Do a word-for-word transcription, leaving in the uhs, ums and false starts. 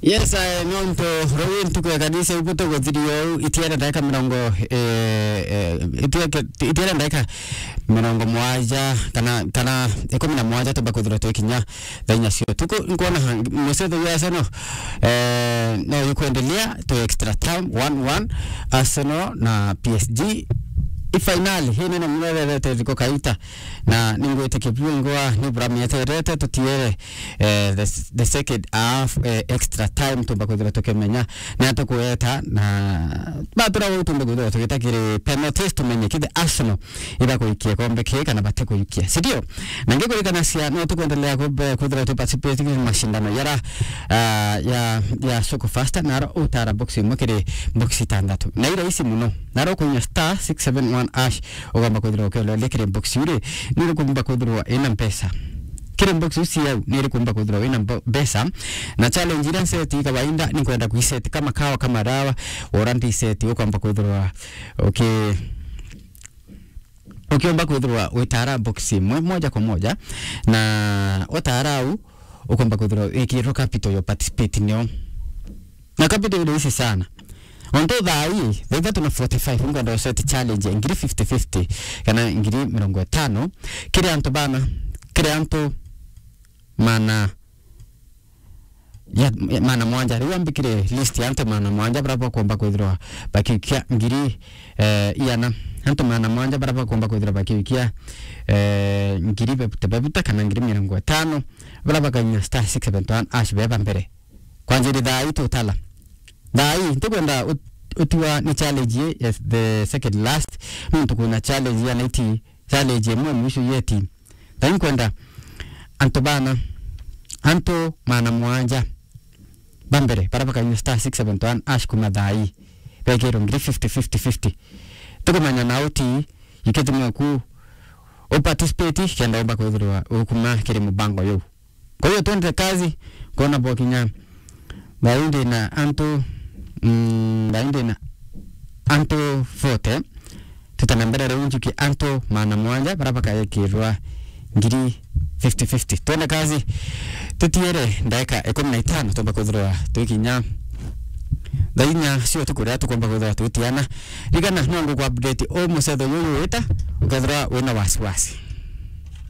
Yes, I, nontu ruu ntuku ya kanisa ibu tuguthiria uu, itiere ndaika mirongo, eh, eh, itiere, itiere ndaika mirongo mwaja kana, kana ikumi na mwaja tumba kwithirwa twikinya thaa inya cia utuku. Nkwona ha-, mucetho jwa Arsenal, eh, no jukwendelea to extra time, one one, Arsenal na P S G. I finali, hii nene murererete thiko kaita, na ningwitikia bwingwa ni bura mieterete tutiere, eh, the, the second half, eh, extra time, tumba kwithirwa tukimenya ni atia kueta, na batura guu tumba kwithirwa tugita kiri penalties, tumenye kethira Arsenal ibakuikia ikombe kii kana batikuikia, si ndio? Na ngikuririkanacia no tukwendelea kumbe kwithirwa tu participate kiri mashindano yara, ah, ya, ya Soko Fasta, na aro utara box imwe kiri box itandatu. Na ira isi muno, na aro kuinya star six seven one hash, ugomba kwithirwa ukioleria kiri box iu ri, ni iriku umba kwithirwa ina mpesa. Kiri box iu ciau, ni iriku umba kwithirwa wina mbo-, mpesa. Na challenge iria nseti kawaida, ni kwenda kuiseti kama kawa, kama dawa, ora ndi iseti, ukomba kwithirwa uki-, ukiomba kwithirwa witara box imwe moja kwa moja, na utara au, ukomba kwithirwa wikirwo capital yo participate nio. Na capital ile isi sana. Onto thaa ii, thaa ithatu na forty-five, nkwenda useti challenge ya ngiri fifty fifty, kana ngiri mirongo itano, kiri antu bana, kiri antu mana, ya, ya mana mwanja. Riu ambikire list ya antu mana mwanja bara bakomba kwithirwa bakiukia ngiri, eh, iana. Antu mana mwanja bara bakomba kwithirwa bakiukia, eh, ngiri bebute bebute kana ngiri mirongo itano, bara bakainya star six seven one hash beba mbere. Kwanjiri thaa ii tutala. Thaa ii, ntikwenda ut-, utiwa ni challenge ii ya the second last, nontu kwina challenge ya night, challenge imwe mwisho yeti. Thaa ii nkwenda antu bana, antu mana mwanja ba mbere, bara bakainya star six seven one hash kuma thaa ii, bekirwo ngiri fifty, fifty, fifty. Tukumenya na uti, ikethimwe ku u participate, kenda umba kwithirwa ukuma kiri mubango yuu. Kwa hiyo twende kazi, kwona bokinya. Thaa ii ndina antu, mm, thaa ii ndina antu forty. Tutana mbere riu njuki antu mana mwanja bara bakayekirwa ngiri fifty fifty. Twende kazi, tutiere ndaika ikumi na itano tumba kwithirwa twikinya thaa inya cia utuku riria tukomba kwithirwa twitiana. Rigana no nguku update u mucetho juju wita, ukethirwa wina wasiwasi.